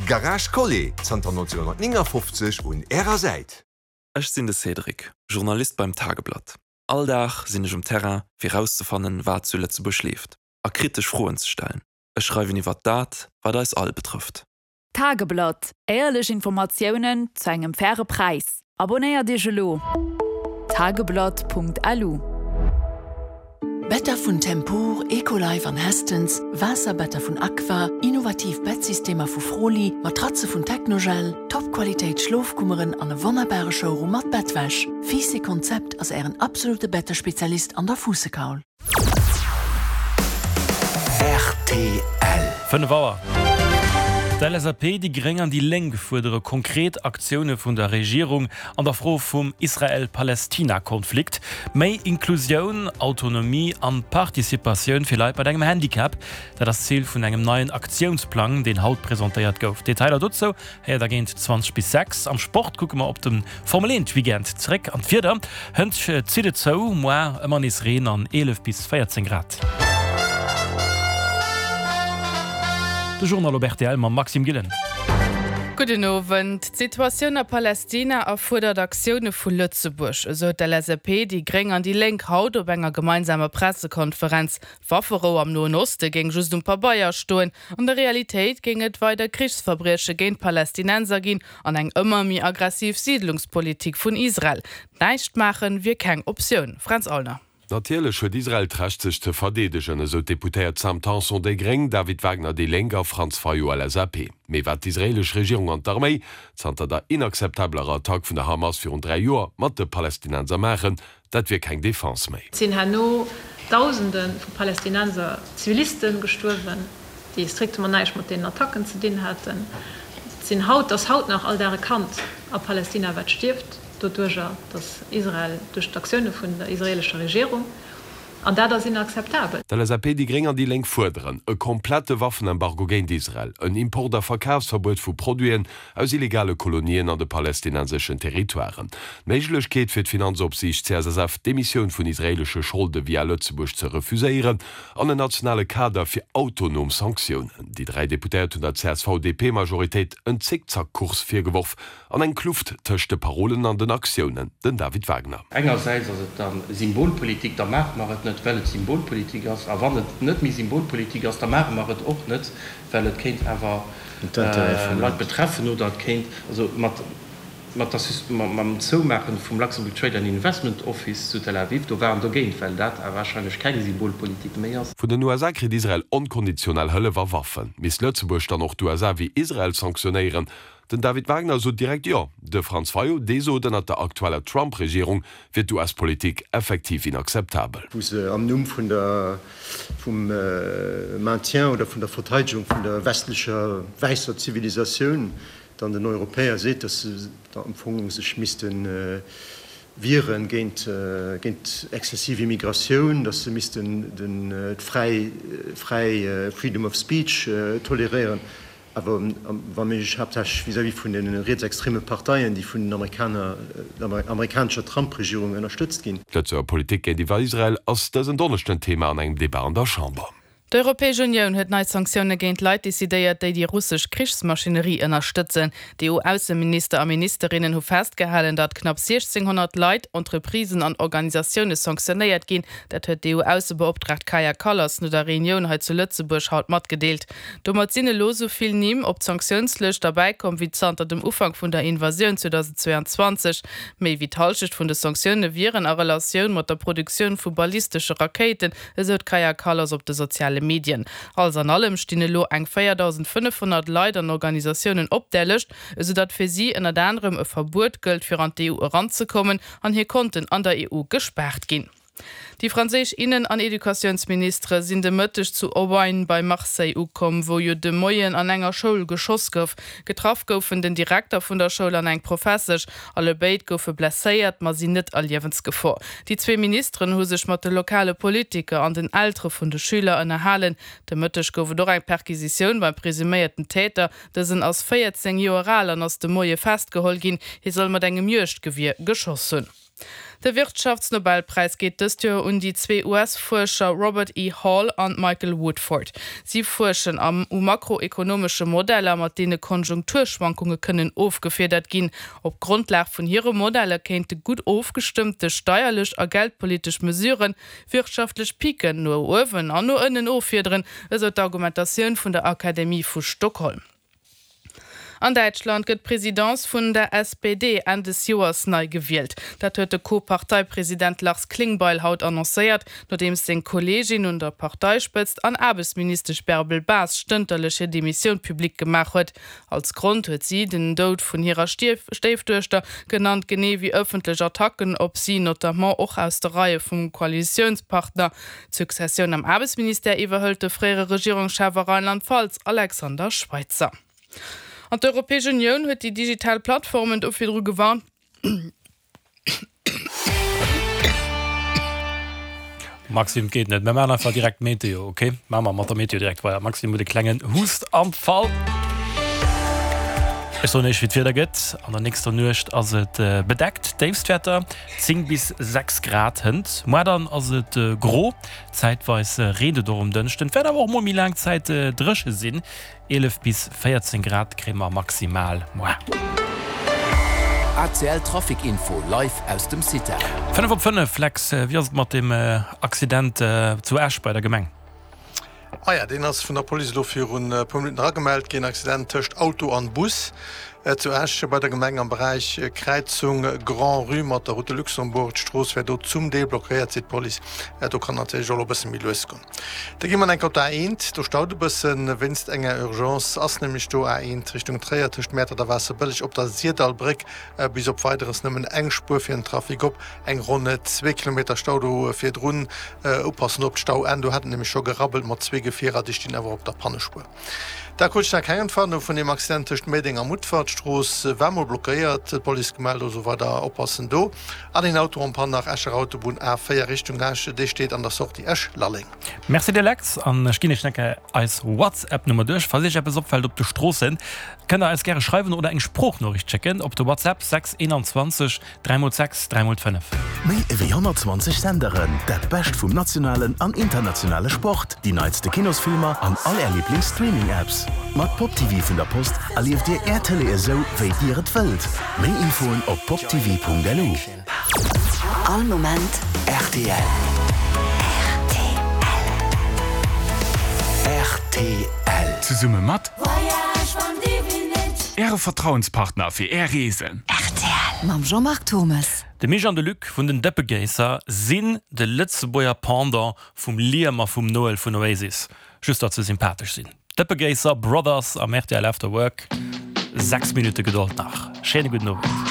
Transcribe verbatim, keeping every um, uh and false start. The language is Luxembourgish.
Garage Collet, zanter nonzénhonnertnéngafofzeg un Ärer Säit. Ech sinn de Cédric, Journalist beim Tageblatt. All Dag sinn ech um Terrain, fir rauszefannen, wat zu Lëtzebuerg leeft, a kritesch Froen ze stellen. Ech schreiwen iwwer dat, wat eis all betrëfft. Tageblatt, Éierlech Informatiounen zu engem faire Präis. Abonéiert Iech elo! Tageblatt.lu. Better vun Tempur, Ecolife an Hästens, Waasserbetter vun Aqua, innovativ Bettsystemer vu Froli, Matratze vun Technogel, Top-Qualitéit Schlofkummeren an e wonnerbare Showroom mat Bettwäsch. Fiiss Konzept ass Ären absolute Bettespezialist an der Fuussekaul. Rtl. Fënnef Auer. D'LSAP, déi Gréng an déi Lénk fuerdere konkret Aktioune vun der Regierung an der Fro vum Israel-Palestina-Konflikt, méi Inklusioun, Autonomie an Participatioun fir Leit mat engem Handicap, dat ass d'Zil vun engem neien Aktiounsplang, deen haut presentéiert gouf. Detailer dozou héiert der géint zwanzeg bis sechs. Am Sport kucke mer op de Formel eent Weekend zeréck an d'Wieder hënt zitt et zou, moar ëmmer nees Reen an eelef bis véierzéng Grad. De Journal op rtl mam Maxime Gillen. Gudden Owend. D'Situatioun a Palestina erfuerdert Aktioune vu Lëtzebuerg, esou d'LSAP, déi Gréng an déi Lénk haut op enger gemeinsamer Pressekonferenz. D'Wafferou am Noen Oste géing just um Pabeier stoen, an der Realitéit géing et weider Krichsverbrieche géint Palästinenser ginn an eng ëmmer méi aggressiv Siidlungspolitik vun Israel. Näischt maachen wier keng Optioun. Fränz Aulner. Natierlech huet Israel d'Recht sech ze verdeedegen, esou d'Deputéiert Sam Tanson, déi gréng, David Wagner, déi Lénk, a Franz Fayot, LSAP. Mee wat d'israeelesch Regierung an d'Arméi zanter der inakzeptabeler Attack vun der Hamas virun dräi Joer mat de Palästinenser maachen, dat wier keng Defense méi. Et sinn herno Dausende vu Palästinenser Ziviliste gestuerwen, déi strictement näischt mat deenen Attacken ze dinn haten. Et sinn haut, ass haut nach all Dag e Kand a Palästina wat stierft. Doduerjer, datt Israel, duerch d'Aktioune vun der israeelescher Regierung, an dat ass inakzeptabel. D'LSAP, déi Gréng an déi Lénk fuerderen e komplette Waffenembargo géint Israel, en Import a Verkafsverbuet vu Produiten aus illegale Kolonien an de palästinenseschen Territoiren, d'Méiglechkeet fir d'Finanzopsiicht C S S F d'Emissioun vun israeelesche Scholde via Lëtzebuerg ze refuséieren an en nationale Kader fir autonom Sanktiounen. Déi dräi Deputéiert hunn der C S V-D P-Majoritéit en Zickzackkurs virgeworf an eng Kluft tëscht de Parolen an den Aktiounen. Den David Wagner. Engersäits ass et da Symbolpolitik, da maache mer et net, well et Symbolpolitik ass, a wann et net méi Symbolpolitik ass, da maache mer et och net, well et kéint awer Leit betreffen oder et kéint, also mat mat der mam Zoumaache vum Luxembourg Trade and Investment Office zu Tel Aviv, do war en dogéint, well dat warscheinlech keng Symbolpolitik méi ass. Vun den U S A kritt Israel onkonditionell Hëllef a Waffen. Misst Lëtzebuerg dann och d'U S A wéi Israel sanktionéieren? Den David Wagner sot direkt Jo. De Franz Fayot, dee sot, ënnert der aktueller Trump-Regierung wier d'U S-Politik effektiv inakzeptabel. Wou se am Numm vun der, vum Maintien oder vun der Verteidegung vun der westlecher wäisser Zivilisatioun dann den Europäer seet, dass se am Fong sech misste wieren géint, géint exzessiv Immigratioun, dass se missten den, d'fräi, fräi Freedom of Speech toleréieren, awer wa méiglech haaptsächlech vis-à-vis vun de rietsextreme Parteien, déi vun den Amerikaner, der amerikanescher Trump-Regierung ënnerstëtzt ginn. D'Lëtzebuerger Politik géintiwwer Israel ass dësen Donneschden Thema an engem Debat an der Chamber. D'Europäesch Unioun huet nei Sanktioune géint Leit decidéiert, déi déi russesch Krichsmaschinerie ënnerstëtzen. D'E U-Ausseminister a ministerinnen hu festgehalen, datt knapp siechzénghonnert Leit, Entreprisen an Organisatioune sanktionéiert ginn. Dat huet d'E U-Aussebeoptraagt Kaja Kallas no der Reunioun hei zu Lëtzebuerg haut matgedeelt. Domat sinn elo sou vill Nimm op d'Sanktiounslëscht derbäikomm wéi zanter dem Ufank vun der Invasioun zweedausendzweeanzwanzeg. Méi wéi d'Hallschent vun de Sanktioune wieren a Relatioun mat der Produktioun vu ballistesche Rakéiten, esou d'Kaja Kallas op de soziale Medien. Alles an allem stinn elo eng véierdausendfënnefhonnert Leit an Organisatiounen op där Lëscht, esou datt fir si ënnert anerem e Verbuet gëllt fir an d'E U eranzekommen an hir Konten an der E U gespaart ginn. Déi franséisch Innen an Educatiounsministere sinn de Mëtteg zu Aubagne bei Marseille ukomm, wou jo de Moien an enger Schoul geschoss gouf. Getraff goufen den Direkter vun der Schoul an eng Professesch. Allebéid goufe blesséiert, ma sinn net a Liewensgefor. Déi zwee Ministeren hu sech mat de lokale Politiker an den Eltere vun de Schüler ënnerhalen. De Mëtteg gouf et och eng Perquisitioun beim presuméierten Täter. Dësen ass véierzéng Joer al an ass de Moie festgeholl ginn. Hie soll mat engem Juegdgewier geschoss hunn. De Wirtschaftsnobelpräis geet dëst Joer un déi zwee US-Fuerscher Robert E. Hall an Michael Woodford. Si fuerschen am u makroekonomesche Modeller, mat deene Konjunkturschwankunge kënnen ofgefiedert ginn. Op Grondlag vun hire Modeller kéinte gutt ofgestëmmte steierlech a geldpolitesch Mesuren wirtschaftlech Piken no uewen an no ënnen offiederen, esou d'Argumentatioun vun der Akademie vu Stockholm. An Däitschland gëtt d'Presidence vun der S P D Enn des Joers nei gewielt. Dat huet de Co-Parteipresident Lars Klingbeil haut annoncéiert, nodeems seng Kolleegin un der Parteispëtzt an Aarbechtsministesch Bärbel Bas stënterlech hir Demissioun public gemaach huet. Als Grond huet si den Doud vun hirer Stéifduechter genannt, genee wéi ëffentlech Attacken op si, notamment och aus de Reie vum Koalitiounspartner. D'Successioun am Aarbechtsministère iwwerhëlt de fréiere Regierungschef a Rheinland-Pfalz Alexander Schweitzer. An d'Europäesch Unioun huet déi digital Plattformen do virdru gewarnt. Maxime, et geet net. Mir maachen einfach direkt d'Meteo, okay? Maache mer mat der Meteo direkt weider. Maxime huet e klengen Hustanfall. Ech soen iech, wéi d'Wieder gëtt. An der nächster Nuecht ass et bedeckt, Déifstwäerter zéng bis sechs Grad hënt. Muer dann ass et gro, zäitweis reent et och um Dënschden. Et wäert awer och mol méi laang Zäit dréche sinn, eelef bis véierzéng Grad kréie mer maximal muer. A C L Trafic Info live aus dem CITAR. Fënnef op fënnef, Lex, wéi ass et mat dem Accident zu Esch bei der Gemeng? Ah ja, deen ass vun der Police elo virun e puer Minutten eragemellt ginn. Accident tëscht Auto an Bus zu Esch bei der Gemeng am Beräich Kräizung Grand-Rue mat der Route de Luxembourg. D'Strooss wär do zum Deel blockéiert, seet d'Police. Do kann natierlech och elo e bësse méi lues goen. Da gi mer enk op d'A eent. Do staut e bëssen wéinst enger Urgence. Ass nämlech do A eent Richtung Tréier tëscht Mäertert a Waasserbëlleg op der Sirdallbréck bis op Weideres nëmmen eng Spuer fir den Trafic op. Eng ronn zwee Kilometer Stau do virdrun. Oppassen op d'Stauenn, do hat et nämlech scho gerabbelt mat zwee Gefierer, déi stinn awer op der Pannespuer. Da krut ech nach keng Entwarnung vun deem Accident tëscht Méideng a Mutfert. D'Strooss war mol blockéiert, d'Police gemellt, also weider oppassen do. An een Auto en panne nach Escher Autobunn A véier Richtung Esch, dee steet an der Sortie Esch-Lalleng. Merci dir Lex, an ech ginn iech nach eng Kéier eis WhatsApp-Nummer duerch. Falls iech eppes opfält op de Stroossen, kënnt der eis gäre schreiwen oder eng Sproochnoriicht schécken op de WhatsApp sechs eenanzwanzeg dräi mol sechs dräi mol fënnef. Méi ewéi honnertzwanzeg Senderen, dat Bescht vum nationalen an internationale Sport, déi neitste Kinosfilmer an all är Liiblings-Streaming-Apps. Mat Pop T V vun der Post erlieft dir är Tëlee esou, wéi dir et wëllt. Méi Infoen op poptv punkt lu. All Moment R T L. R T L. Zesumme mat Äre Vertrauenspartner fir Är Reesen. R T L. Mam Jean-Marc Turmes. De Mich an de Luc vun den Dëppegéisser sinn de Lëtzebuerger Pendant vum Liam a vum Noel vun Oasis. Just datt se sympathesch sinn. Dëppegéisser Brothers am R T L After Work. Sechs Minutte Gedold nach. Schéine gudden Owend.